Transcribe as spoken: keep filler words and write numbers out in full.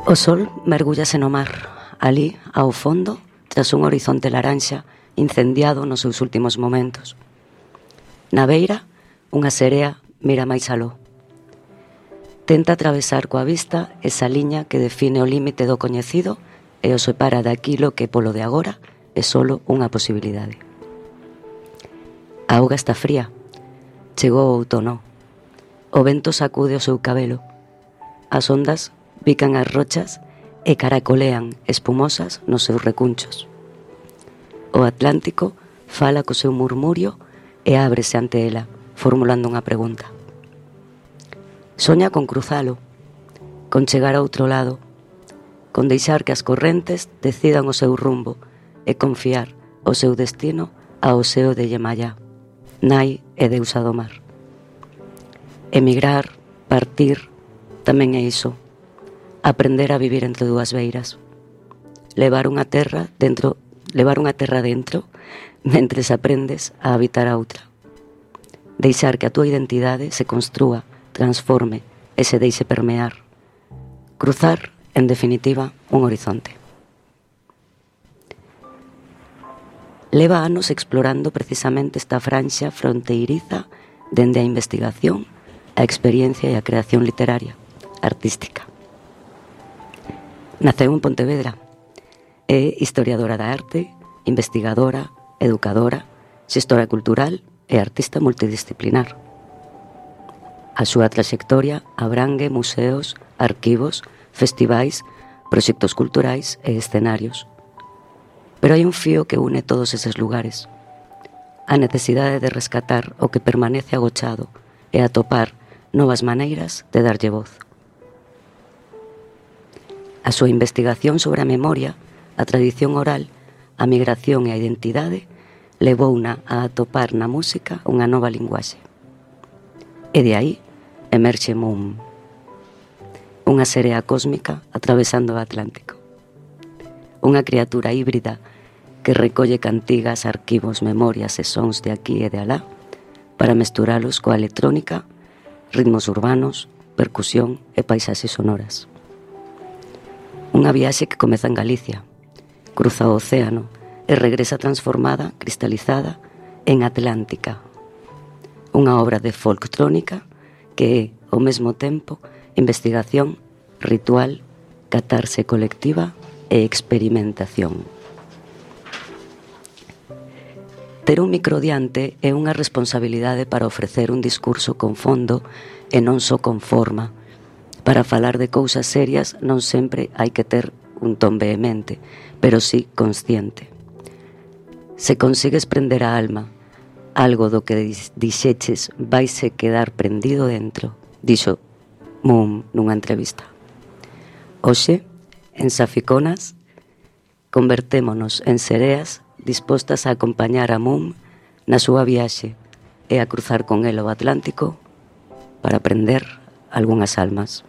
O sol mergúllase no mar, ali, ao fondo, tras un horizonte laranxa incendiado nos seus últimos momentos. Na beira, unha serea mira máis aló. Tenta atravesar coa vista esa liña que define o límite do coñecido e o separa daquilo que polo de agora é solo unha posibilidade. A auga está fría. Chegou o outono. O vento sacude o seu cabelo. As ondas pican as rochas e caracolean espumosas nos seus recunchos. O Atlántico fala co seu murmurio e ábrese ante ela, formulando unha pregunta. Soña con cruzalo, con chegar a outro lado, con deixar que as correntes decidan o seu rumbo e confiar o seu destino ao seo de Yemayá, nai e deusa do mar. Emigrar, partir, tamén é iso. Aprender a vivir entre dúas beiras. Levar unha terra dentro, levar unha terra dentro, mentres aprendes a habitar a outra. Deixar que a túa identidade se construa, transforme e se deixe permear. Cruzar, en definitiva, un horizonte. Leva anos explorando precisamente esta franxa fronteiriza dende a investigación, a experiencia e a creación literaria, artística. Naceu en Pontevedra. É historiadora da arte, investigadora, educadora, xestora cultural e artista multidisciplinar. A súa traxectoria abrangue museos, arquivos, festivais, proxectos culturais e escenarios. Pero hai un fío que une todos eses lugares. A necesidade de rescatar o que permanece agochado e atopar novas maneiras de darlle voz. A súa investigación sobre a memoria, a tradición oral, a migración e a identidade levouna a atopar na música unha nova linguaxe. E de aí emerxe Moon, unha serea cósmica atravesando o Atlántico. Unha criatura híbrida que recolle cantigas, arquivos, memorias e sons de aquí e de alá para mesturalos coa electrónica, ritmos urbanos, percusión e paisaxes sonoras. Unha viaxe que comeza en Galicia, cruza o océano e regresa transformada, cristalizada, en Atlántica. Unha obra de folktrónica que é, ao mesmo tempo, investigación, ritual, catarse colectiva e experimentación. Ter un micro diante é unha responsabilidade para ofrecer un discurso con fondo e non só con forma. Para falar de cousas serias non sempre hai que ter un ton vehemente, pero sí consciente. Se consigues prender a alma, algo do que dixeches vaise quedar prendido dentro, dixo Moon nunha entrevista. Hoxe, en Saficonas, convertémonos en sereas dispostas a acompañar a Moon na súa viaxe e a cruzar con el o Atlántico para prender algunhas almas.